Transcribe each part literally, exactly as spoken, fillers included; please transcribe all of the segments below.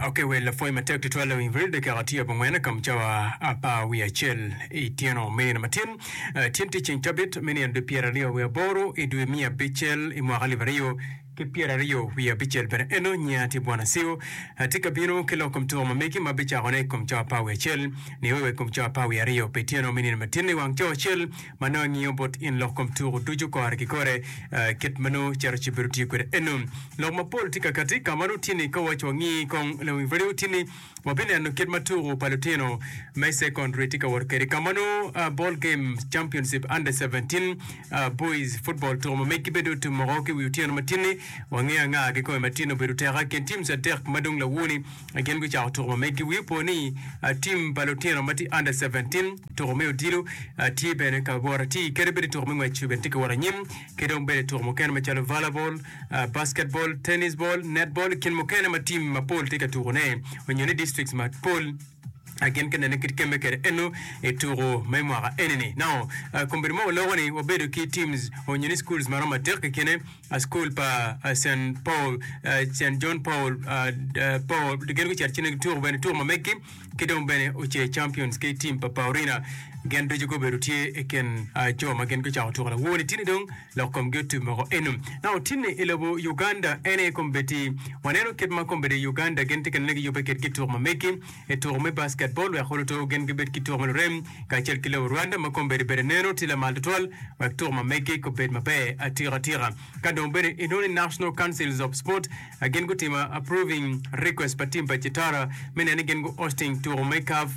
Okay, well, lapwony matek tutwal lawiny radio dakika tye abongwen kom cawa apar wiye acel i tyeno me nino matin. Uh, tyen tye ceng cabit me nino dwe pyera aryo wiye aboro i dwe miya abicel i mwaka alip aryo ki pyera aryo wiye abicel bene eno nyinga tye Bwana Sio. Atye ka bino ki lok kom tuko ma megi ma bicakone i kom cawa apar wiye acel nio wa i kom cawa apar wiye aryo pi tyeno me nino matin i wang cawa acel ma nongo angiyo bot in lok kom tuko ducu kore ki kore uh, kit ma nongo cito ci bedo tye kwede eno. Lok mapol tye ka kati ka ma nongo tye ni ka waco wangi kong lawiny radio tye ni wabineno kit ma tuko pa lutino me secondary tye ka wot kwede ka ma nongo uh, ball game championship under seventeen uh, boys football tuko ma megi bedo otum oko ki wi otyeno matin-ni. Wangeyo anga kikome matin obedo teka kin teams adek ma dong lawoni gin gucako tuko ma megi. Wi opo ni uh, team pa lutino ma tye under seventeen tuko me odilo uh, tye bene ka wot ati kede bene tuko me ngwec bene tye ka wot anyim ki dong bene tuko mukene macalo volleyball, uh, basketball, tennis ball, netball kin mukene ma team mapol tye ka tukone onyo ni districts mapol gin ka nene kit kemme kwede eno i tuko me mwaka enini. Now, uh, kombeddi mo waloko ni wabedo ki teams onyo ni schools maromo adek i kine uh, school pa uh, Saint Paul, uh, Saint John Paul, uh, uh, Paul gin gucito cene tuko bene tuko ma megi ki dong bene Oce Champions ki team pa Paurina gin ducu gubedo tye i kin uh, jo ma gin gucako tuko lawoni tini dong lok komgi otum oko eno. Now, tini i lobo Uganda ene kombeddi waneno kit ma kombeddi Uganda gin tye ka nene giyubbe kwedgi tuko ma megi i tuko me basketball wek oluto gin gibed ki tuko ma lurem kacel ki lobo Rwanda ma kombeddi bene neno tye lamal tutwal wek tuko ma megi kobed maber atika atika. Ka dong bene inongo ni National Councils of Sport uh, gin gutimo approving request pa team pa Chitara me neno ni gin gu hosting tuko me CAF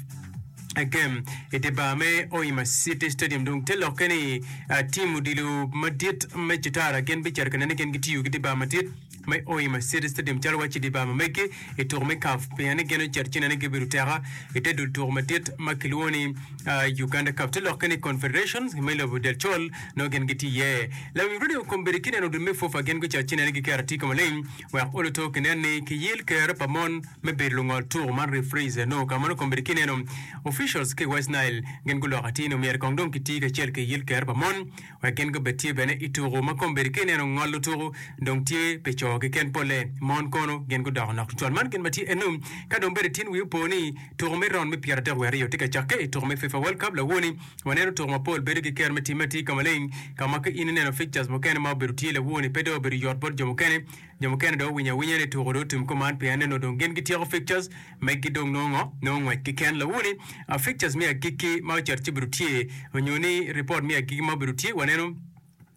game i dye bar me Hoima City Stadium. Dong te lokke ni uh, team odilo madit me Chitara gin bicito ka neno ni gin gitiyo ki dye bar madit me Hoima City Stadium calo waci dye bar ma megi i tuko me CAF pien ni gin ocito ci neno ni gibedo teka i te dul tuko madit ma kilwongo ni uh, Uganda Cup. Te lokke ni Confederation me lobo del col nongo gin gitye iye. Lawiny radio kombeddi kineno dul me FUFA gin gucito ci neno ni giketo atika maleng wek oluto kinen ni kiyil kero pa mon me bedo lungol tuko man referees no ka mano kombeddi kineno officials ki West Nile gin guloko atir ni omyero kong dong kiti kacel ki yil kero pa mon wek gin gubed tye bene i tuko ma kombeddi kineno ngolo tuko dong tye pi co keken polle mon kono gin gudoko nok tutwal. Man gin ma tye eno ka dong bene tin wi opo ni tuko me round me pyera adek wiye aryo tye ka cakke i tuko me FIFA World Cup lawoni waneno tuko mapol bedo ki kero me timme atir ka maleng ka ma ka in ineno fixtures mukene ma obedo tye lawoni pe dong obedo yot bot jo mukene jo mukene dong owinyo awinya ni tuko dong otum kuman pien neno dong gin gityeko fixtures megi dong nongo nongo ngwec keken lawoni uh, fixtures me agikki ma ocito ci obedo tye onyo ni report me agikki ma obedo tye waneno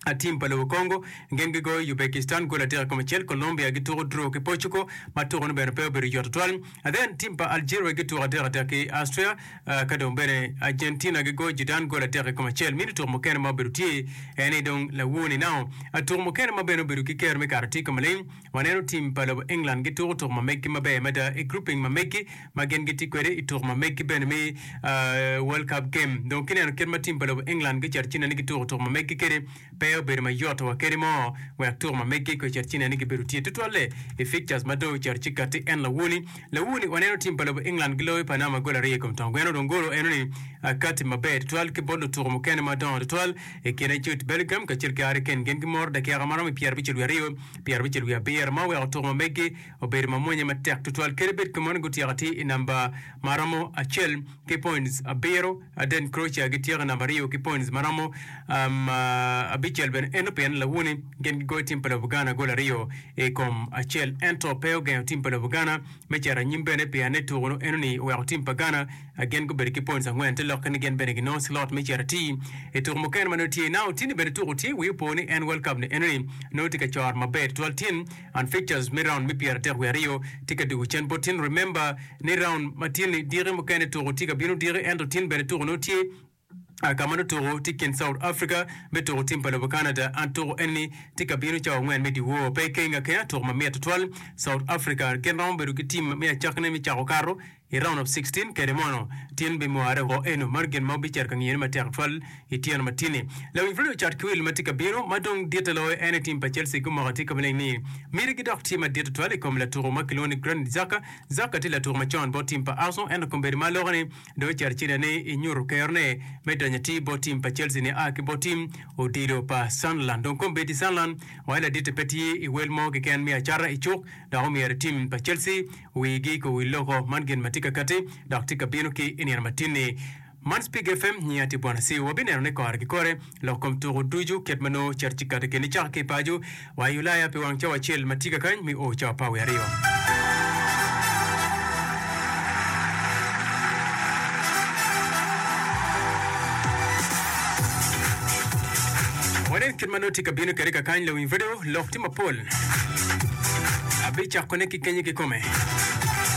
a team pa lobo Congo gin gigoyo Uzbekistan gol adek i kom acel, Colombia gituko draw ki Portugal ma tuko ni bene pe obedo yot tutwal. And then team pa Algeria gituko adek adek ki Austria uh, ka dong bene Argentina gigoyo Jordan gol adek i kom acel. Mino tuko mukene ma obedo tye en ni dong lawoni now tuko mukene ma bene obedo ki kero me kato tye ka maleng waneno team pa lobo England gituko tuko ma megi maber mada i grouping ma megi ma gin gitye kwede i tuko ma megi bene me uh, World Cup game. Dong kineno kit ma team pa lobo England gicito cine ni gituko tuko ma megi kede pe obedo mayot wa kede mo wek tuko ma megi ko cito cine ni gibedo tye tutwalle i fixtures ma dong ocito ci kati en lawoni lawoni waneno team pa lobo England giloyo Panama gol aryo i kom tong gweno dong golo eno ni uh, kati maber tutwal ki bot lutuko mukene madongo tutwal i kine Jude Bellingham kacel ki Harry Kane gin gimoro dakika maromo pyera abicel wiye aryo pyera abicel wiye abiro ma oweko tuko ma megi obedo mamwonya matek tutwal kede bed kumeno gutyeko atir i namba maromo acel ki points abiro then Croatia gityeko i namba aryo ki points maromo um, uh, abicel bene eno pien lawoni gin gigoyo team pa lobo Ghana gol aryo i kom acel ento pe ogengo team pa lobo Ghana me cito anyim bene pien ni tuko no eno ni oweko team pa Ghana gin gubedo ki points angwen te lokke ni gin bene ginongo slot me cito atir i tuko mukene ma nongo tye now tini bene tuko tye wi opo ni en World Cup ni eno ni nongo tye ka coro maber tutwal tin and fixtures me round me pyera adek wiye aryo tye ka dugo cen bot tin remember ni round ma tin ni diki mukene tuko tye ka bino diki ento tin bene tuko nongo tye ka ma nongo tuko tye kin South Africa me tuko team pa lobo Canada an tuko eni tye ka bino cawa angwen me dyewor pe keng akenga tuko mamit tutwal South Africa gin romo bedo ki team me acakne me cako kato I round of sixteen kede mono tin bimware woko eno man gin ma obicito ka ngiyone matek tutwal i tyeno matini. Lawiny Fredo ocat ki wil ma tye ka bino ma dong ditte loyo en aye tim pa Chelsea gumoko atir ka maleng ni mitigi dok tye madit tutwal i kom latuko ma kilwongo ni Granit Xhaka. Xhaka tye latuko macon bot tim pa Arsenal ento kombeddi ma aloko ni dong ocito acida ni inyuto kerone me donyo atir bot tim pa Chelsea ni a ki bot tim odilo pa Sunderland. Dong kombeddi Sunderland waco laditte pe tye i wel mo keken me acata i cuk dok omyero tim pa Chelsea wigi ko wi loko man gin ma tye ka kati dok tye ka bino ki i nino matin-ni. Man Spik F M nyinga tye Bwana Siu. Wabineno ni kore ki kore lok kom tuku ducu kit ma nongo cito ci kati keni cako ki i paco wa i Ulaya pi wang cawa acel ma tye ka kany me o cawa apar wiye aryo. Wanen kit ma nongo tye ka bino kwede kakany lawiny radio lok tye mapol. Abicakone ki kenyo kikome.